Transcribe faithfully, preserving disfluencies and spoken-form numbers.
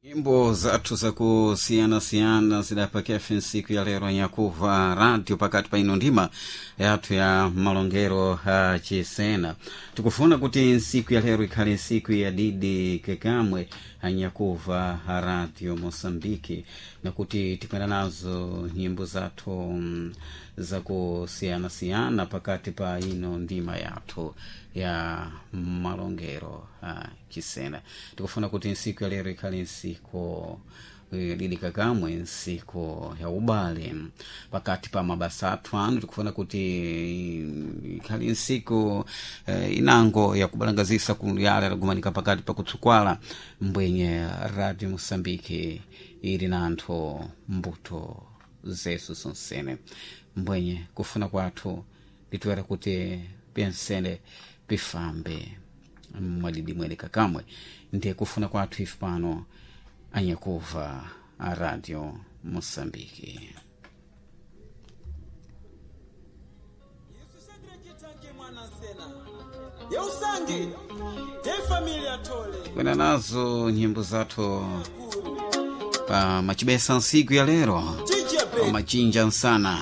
Nyimbo zathu zakusiyana-siyana zidapakefe nsiku ya lero nyakuva radio pakati pa ino ndima yathu ya malongero a chisena. Tikufuna kuti nsiku ya lero ikhale nsiku ya didi kekamwe anyakuva Radio Mosambiki, nakuti tikwenda nazo nyimbo zathu mm, zakusiyana-siyana pakati pa ino ndima yathu ya malongero a chisena. Tikufuna kuti nsiku ya lero ikhale nsiku eh, lili kakamwe, nsiku ya ubale pakati pa mabasa athu anu. Tikufuna kuti ikhale nsiku eh, inango yakubalangazisa kuyala lagumanika pakati pa kutsukwala mbwenye Radio Mosambiki ili na anthu mbuto zesu sonsene. Mbwenye kufuna kwathu litiwera kuti pensene pifambe mwadidi mwene kakamwe, ndiye kufuna kwathu ife pano anyakuva a Radio Mosambiki. Yeusangi te familia tole. Kwenda nazo nyimbo zathu pa machibesa nsiku ya lero Chichepe. pa machinja nsana.